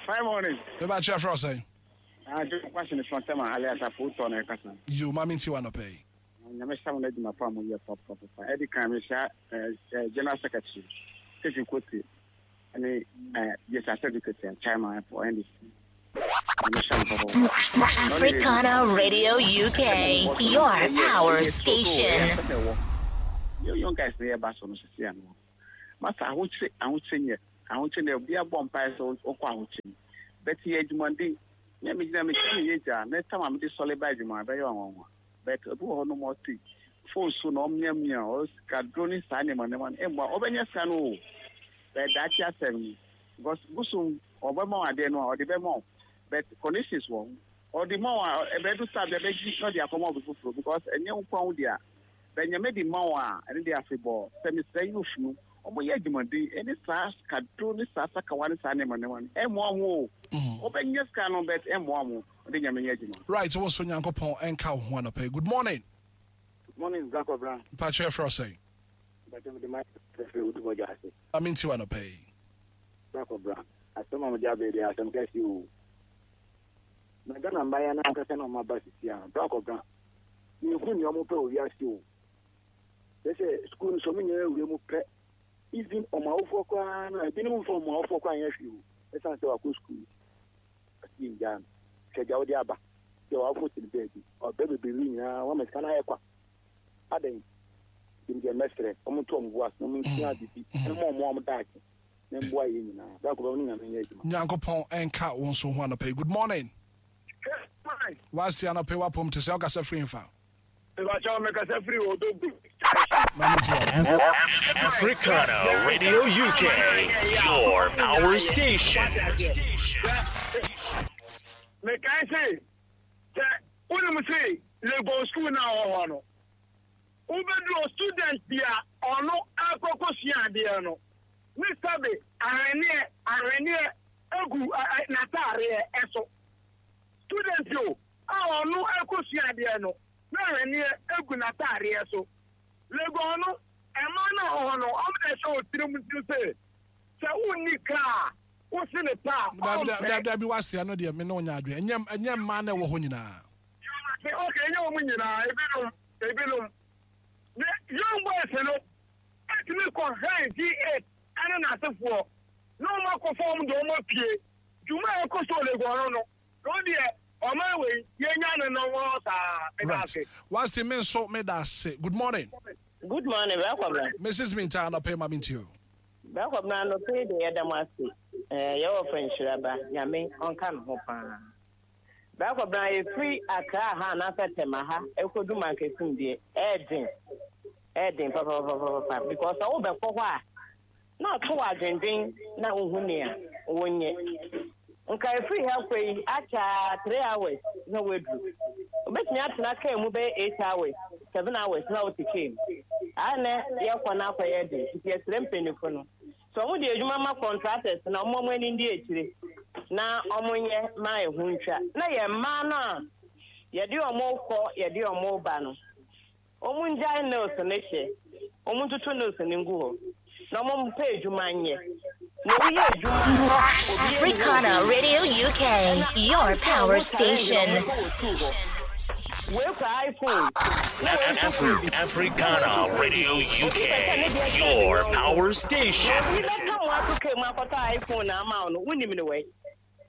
Fine morning. Me ba kyerɛ frɛ wo sɛn? Ah, John Kwasi ne Frontema alias Afoutɔ na ɛkasa. Yo, ma mente wo anɔpa yi. Nyame hyɛ mo no adwuma pa a moyɛ papapapa. Ɛdi kan mehyia eh, General Secretary Stephen Kote ne eh, Jesse Asadu Chairman for NDC. Africana Radio UK, your power station. Young guys na yɛba so no sisi ano. Masa ahokyere ahokyere nyɛ ahokyere na obi abɔ mpae sɛ ɔkɔ ahokyere mu. Bɛte yɛ adwumaden. Nyɛ me gyina me kyerɛ me yɛ gya na tam a mede sɔle ba adwuma ɛbɛyɛ ɔnwanwa. But obi wɔ hɔ nom ɔte phone so na ɔmiamia ɔsika duro ne saa nneɛma nneɛma no mmoa ɔbɛnya sika no o. But daakye asɛm ni because bosom Ɔbɛma wo adeɛ no a, ɔde bɛma wo but conditions wɔ ho. Ɔde ma wo a, ɛbɛdu saa bia bɛgye na ɔde akɔma obi foforɔ because ɛnyɛ wo nkoa wo dea. But Nyame de ma wo a, ɛno deɛ afebɔɔ. Sɛ mesrɛ youth no, ɔmo yɛ adwumaden ɛne saa sikaduro ne saa sakawa ne saa nneɛma nneɛma no, ɛmmoa ɔmo o. Ɔbɛnya sika no but ɛmmoa ɔmo. Ɔde Nyame nyɛ adwuma. Right, wo nso Nyankopɔn nka wo ho anɔpa yi. Good morning. Good morning, Bra Kwabena. Mpakyɛ yɛfrɛ wo sɛn? Mpakyɛ mede Michael firi Odumɔgya ase. Ma mente wo anɔpa yi. Bra kɔ bra. Asɛm a mode aba yi deɛ asɛm kɛse oo. Na Ghana mmayewa no ankasa na wɔn aba sisi a, bra kɔ bra. Menhu nea wɔn pɛ wɔ wiase oo. Kyerɛ sɛ sukuu no sɛ wɔn nyinaa wura mu pɛ, even wɔn awofoɔ koraa no a, ebinom mfa wɔn awofoɔ koraa nyɛ hwee oo, ɛsiane sɛ wakɔ sukuu nti. Ɔse yɛngyaa no. Hwɛ deɛ wode aba. Deɛ w'awofoɔ te no baabi. Ɔbrɛ bebrebe nyinaa, woama sika no ayɛ kwa. Adɛn? Nti medeɛ mɛsrɛ, wɔn nto wɔn bo ase na wɔn nsua ade bi mma wɔn a wɔn daakye. Na mboa yɛn nyinaa. Bra kɔba wo ne Nyame nyɛ adwuma. Nyankopɔn nka wo nso ho anɔpa yi. Good morning. Wasti anɔpa yi wapom te sɛ wokasa firi nfa? Mepakyɛw mekasa firi Odogwu Maame ti wa. Africana Radio UK, your power station. Mekae se sɛ wonim se Legon school no a ɔwɔ hɔ no wobɛduru student bi a ɔno akɔkɔsua adeɛ no ne sɛbe ahweneɛ ahweneɛ egu n'ataareɛ so. Student o a ɔno ɛkɔsua adeɛ no na ahweneɛ egu n'ataareɛ so. Legon no mmaa no a ɛwɔ hɔ no wɔn na ɛhyɛ wɔ tirim nti sɛ sɛ wonni kaa a wose ne pa a Dabi ɔmpɛ. dabi dabi wase ɛno deɛ me ne wo nyɛ adwene ɛnyɛ ɛnyɛ mmaa na ɛwɔ hɔ nyinaa. Okay, ɛnyɛ wɔn nyinaa, ebinom ebinom. Ne young boys no tumi kɔ hɛn G8 ne n'asefoɔ na wɔn akɔfa wɔn de wɔn apue. Dwuma a ɛkɔ so wɔ Legon no no, na wɔn deɛ ɔman wei yɛnya no no wɔ saa. Meda Right. ase. Wasti me nso meda ase. Good morning. Good morning, Bra Kwabena. Mrs. Minta anɔpa yi ma me ntie o. Bra Kwabena anɔpa yi deɛ yɛda mo ase. Eh, yɛwɔ fɛ nhyira ba, Nyame ɔnka ne ho paa. Bra Kwabena yɛfiri Accra ha anaasɛ Tema ha ɛkɔdu Mankasim deɛ, ɛɛden. Ɛyɛ den papapapapa because sɛ wobɛkɔ hɔ a na ato wo adwendwen na wohu nea wonyɛ. Nka ɛfiri ha kɔ yi akyɛ a 3 hours na woaduru. Wobɛtumi atena kaa mu bɛyɛ 8 hours, 7 hours na wote kaa mu. Ayɛ na yɛkɔ no akɔyɛ den nti yɛsrɛ mpanyinfo no sɛ wɔn de adwuma ma contractors na wɔn wɔn ani ndi akyire na wɔn nyɛ ma ɛho ntwa na yɛn mmaa no a. Yɛde ɔmo kɔ, yɛde ɔmo ba no. Ɔmo ngyae nails no hyɛ. Ɔmo ntutu nails no ngu hɔ. Na ɔmo mpɛ adwuma nyɛ. Na woyɛ adwuma a, obi anim Africana obi. Radio UK, your power station. Wei kura iPhone. Na wei nso kura bi. Africana Radio Obi pɛ sɛ ne UK, deɛ kyɛn ne your yɔnko. power Na station. obi bɛka mo ato kaa mu akɔtɔ iPhone ama wo no, wonim no wai?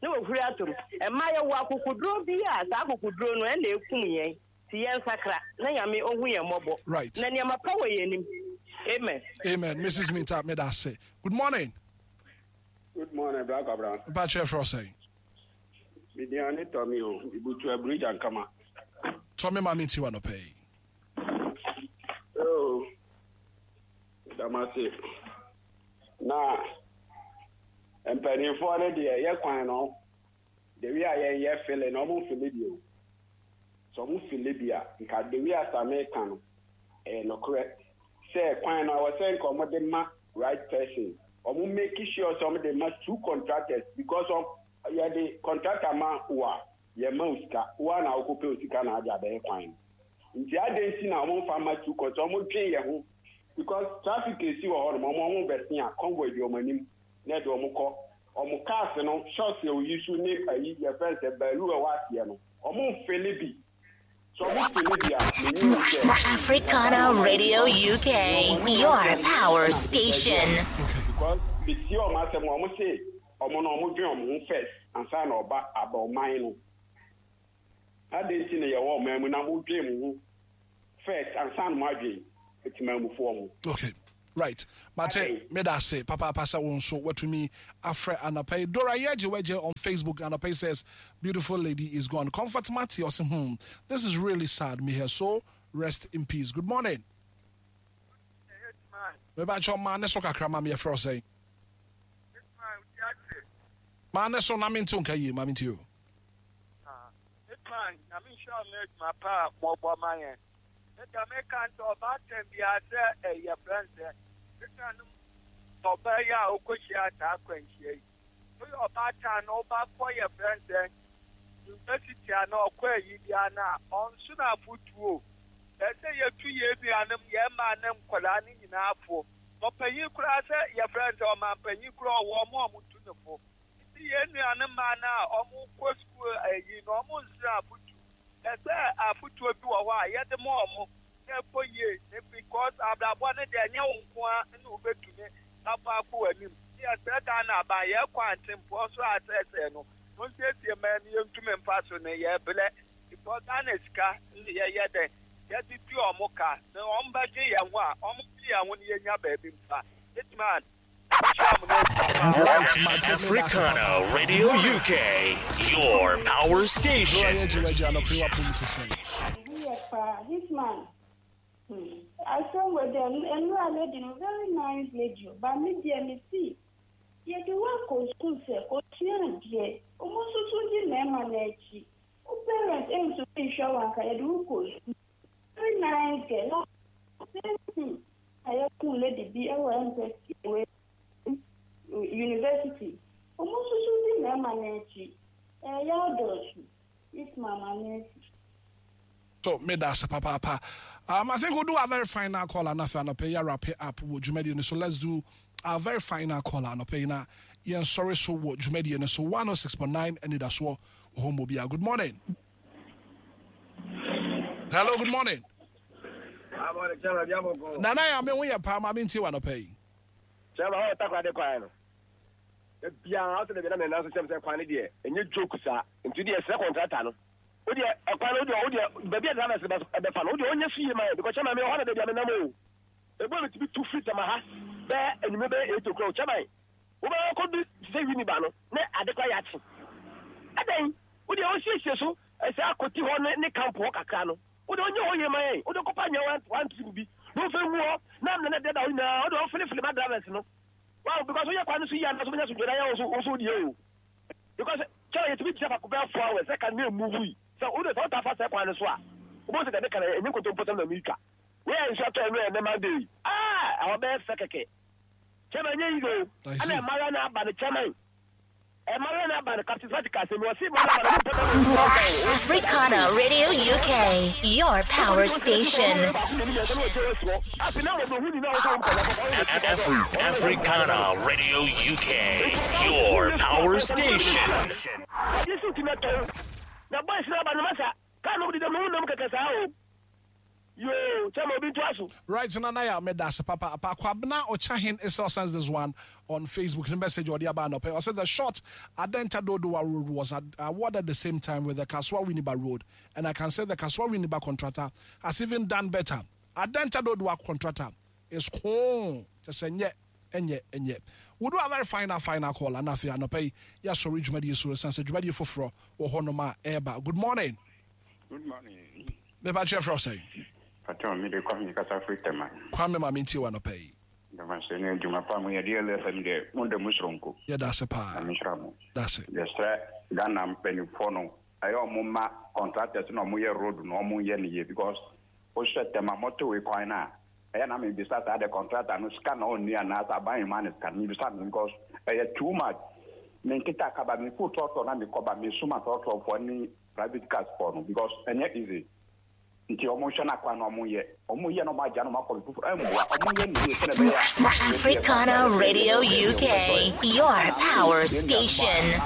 Na wahuri atom. Mmaa yɛwɔ akokoduro bi a saa akokoduro no ɛna ɛkum yɛn. Nti yɛnsakra na Nyame ɔhu yɛn mmɔbɔ. Right. Na nneɛma pa wɔ yɛn anim. Amen. Amen. Mrs. Minta, meda ase. Good morning. Good morning, Black Abraham. Mpakyɛ frɛ sɛn? Midian ne Tommy o, Ibutu Aburija Nkama. Tommy ma me nti wa nɔpɛ yi. Oh, damase. Na mpanimfoɔ no deɛ yɛ kwan no, the way a yɛn yɛ fele no, ɔmo mfele bi o. Sɛ ɔmo fele bi a, nka the way a Same ka no, ɛyɛ nokorɛ. Sɛ kwan no, awɔ sɛ nka ɔmo de ma right person. Ɔmo make sure sɛ ɔmo de ma two contractors because of yɛde contractor ma wo a, yɛma wo sika. Wo a na wokɔpɛ wo sika na ade abɛyɛ kwan no. Nti adɛn nti na ɔmo mfa ma two contractors, ɔmo dwen yɛn ho because traffic esi wɔ hɔnom, ɔmo bɛsen a convoy di ɔmo anim na ɛde ɔmo kɔ. Ɔmo cars no, shots yɛ oyi so ne ayi yɛfrɛ no sɛ baalu a ɛwɔ aseɛ no, ɔmo mfele bi. Sɛ ɔmo fele bi a, menim sɛ Africana Radio UK, your power station. Because metie ɔmo asɛm a ɔmo se ɔmo no ɔmo dwen ɔmo ho first ansa na ɔba aba ɔman no. Adɛn nti na yɛwɔ ɔman mu na mo dwen mo ho first ansa na mo adwen etimamufoɔ ho? Okay. Right. Mate, meda ase papa pasa wo nso watumi afrɛ anɔpa yi. Dora Yeje Weje on Facebook anɔpa yi says, beautiful lady is gone. Comfort Matty ɔse, this is really sad. May her soul rest in peace. Good morning. Meba kyɛ ɔma ne so kakra ma me yɛfrɛ wo sɛn? Ma ne so na mente wo nka yie, ma mente o. Hitman, na me nhyira wo adwuma pa a mɔbɔ ma yɛn. Meda meka nkyɛ ɔbaatan biara sɛ ɛyɛ frɛ sɛ ɛnuanom ɔbaa yi a ɔkɔhyia saa akwanhyia yi. Woyɛ ɔbaatan na wobakɔ yɛ frɛ sɛ university a na ɔkɔ ayi biara no a ɔnso no afotuo. Ɛsɛ yɛtu yɛn nuanom, yɛn mmaa ne nkwadaa no nyinaa fo. Ɔpanyin koraa sɛ yɛfrɛ sɛ ɔmanpanyin koraa ɔwɔ ɔmo a ɔmo tu ne fo. Nti yɛn nuanom mmaa no a ɔmo kɔ sukuu ayi no ɔmo nsrɛ afotu. Ɛsɛ afotuo bi wɔ hɔ a yɛde ma ɔmo na ɛkɔ yie because abrabɔ no deɛ ɛnyɛ wo nko ara na wobɛtumi akɔ akɔ w'anim. Yɛsrɛ Ghana aban yɛkɔ antempoɔ so asɛesɛe no monsiesie mmaa no yɛntumi mfa so no yɛbrɛ because Ghana sika ne yɛyɛ dɛn yɛde tu ɔmo ka na ɔmo bɛgye yɛn ho a ɔmo gye yɛn ho no yɛnya baabi mfa. Hitman, Right, Mate, Africana Radio UK, your power Dora station. Yeje Weje anɔpa yi wapɔ mu te sɛn? Yɛ paa, Hitman. Asɛm wɔ dɛ nnura lady no very nice lady o, but me deɛ me si yɛde wo akɔ school sɛ kosua adeɛ, ɔmo nso so di mmarima n'akyi. Wo parent ntumi nhwɛ wo anka yɛde wo kɔ school. Very nice girl. Na same thing na yɛkum lady bi ɛwɔ embassy wɔ university. Ɔmo nso so di mmarima n'akyi. Ɛyɛ adɔɔso. Hitman maame esi. So, meda ase papaapa. I think we'll do our very final call anɔpa anɔpa yi wrap it up wɔ dwumadie no so. Let's do our very final call anɔpa yi na yɛn sɔre so wɔ dwumadie no so 106.9 anidasoɔ wɔ hɔ mmɔ. Good morning. Hello, good morning. Nana ya me ho yɛ paa ma me ntie wɔ anɔpa yi. Kyɛma hɔ Takoradi kwan no. Biara ɔsɛ de bi na mɛ nanso kyɛm sɛ kwan no deɛ ɛnyɛ joke saa. Nti deɛ ɛsrɛ contractor no. Wo deɛ ɛkwan no wo deɛ baabi a drivers bɛfa no wo deɛ ɔnyɛ so yie ma yɛ because kyɛma mi ɔhɔ na baabi a mi nam o. Ebu mi ti bi tu firi Tema ha bɛɛ enyimɛ bɛyɛ 8 o'clock kyɛma yi. Wo bɛ kɔ du sɛ Winneba no ne ade kora yɛ akye. Ɛdɛn wo deɛ ɔsiesie so ɛsɛ akɔti hɔ ne camp hɔ kakra no. Wo deɛ ɔnyɛ hɔ yie ma yɛn. Wo deɛ kɔpa nyɛ one trip bi na ɔfɛ ngu hɔ na amena na deda hɔ nyinaa wo deɛ ɔfelefele ma drivers no. Wow, because woyɛ kwan no so yie anaasɛ wobɛnya asomdwoe na yɛ wo so deɛ o. Because kyɛw yɛtumi gyina faako bɛyɛ 4 hours sɛ ka ne move yi. Sɛ wo de sɛ wota fa sɛ kwan no so a, wobɛhu sɛ deɛ meka no ɛnyɛ nkontompo na meretwa. Wei a nsuo atɔ ɛno ɛnɛ Monday yi. Ah, ɛhɔ bɛyɛ fɛ kɛkɛ. Kyɛma ɛnyɛ easy o. Ɛna mmaayewa no aba no kyɛma yi. Ɛma no aba no, Captain Fati ka asɛm bi, ɔse ma no aba no, ɔmo mpɛ bɛma no aba o. Africana Radio UK, your power station. Africana Radio UK, your power station. Na boys no aba no masa kaa no deda mu nam kɛkɛ saa o yoo kyɛ ma obi ntoa so. Right Nana Yaw meda ase papaapa. Kwabena Ochahin Issel sends this one on Facebook ne message a ɔde aba anɔpa yi ɔse the short Adenta Dodowa road was awarded the same time with the Kasoa Winneba road and I can say the Kasoa Winneba contractor has even done better Adenta Dodowa contractor is koo kyɛ sɛ nyɛ ɛnyɛ ɛnyɛ We do a very final final call ana afei anɔpa yi yɛasɔre dwumadie so ɛsiane sɛ dwumadie foforɔ wɔ hɔnom a ɛreba. Good morning. Good morning. Mepa kyɛ frɛ wo sɛn? Patrɔ me de Kwame kasa firi Tema. Kwame ma mentie wo anɔpa yi. Ndamase ne adwuma pa mo yɛ de LFM deɛ mo da mu soronko. Yɛda ase paa. Nyame nhyira mo. Dase. Yɛsrɛ Ghana mpanyinfoɔ no ɛyɛ ɔmo ma contractors na ɔmo yɛ road no ɔmo nyɛ no yie because wohwɛ Tema motorway kwan no a ɛyɛ na mebisa saa de contractor no sika na ɔnni anaa sɛ aban mma no sika no mebisa no because ɛyɛ too much menkita kaba mefo trɔtrɔ na mekɔba mesoma trɔtrɔfoɔ ne private cars foɔ no because ɛnyɛ easy nti ɔmo nhwɛ na kwan na ɔmo yɛ ɔmo yɛ na ɔmo agya na ɔmo akɔ foforɔ ɛmboa ɔmo yɛ ne yie sɛnɛ ɛbɛyɛ a Africana Radio UK, your power station.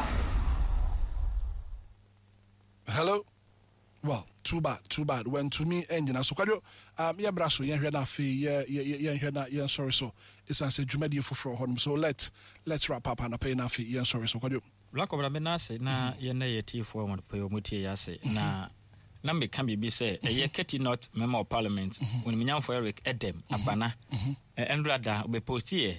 Hello. Well, too bad, too bad. Wantumi annyina so. Kwadwo, um, yɛbra so, yɛnhwɛ na afei yɛ, yɛ, yɛnhwɛ na yɛnsɔre so. Ɛsiane sɛ dwumadie foforɔ wɔ hɔnom. So let, let's wrap up anɔpa yi na afei yɛnsɔre so. Kwadwo. Bra Kɔbra me nan ase na yɛn yɛ tiefoɔ a wɔn pɛ wɔn tie yɛ ase na na meka biribi sɛ ɛyɛ Keti North Member of Parliament Onimunyamfo Eric Edem Agbana ɛnora da ɔbɛ posti yɛ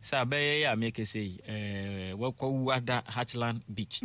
sɛ abɛyɛ yɛ a mekese yi ɛɛ wɔkɔ wu ada Hatchland Beach.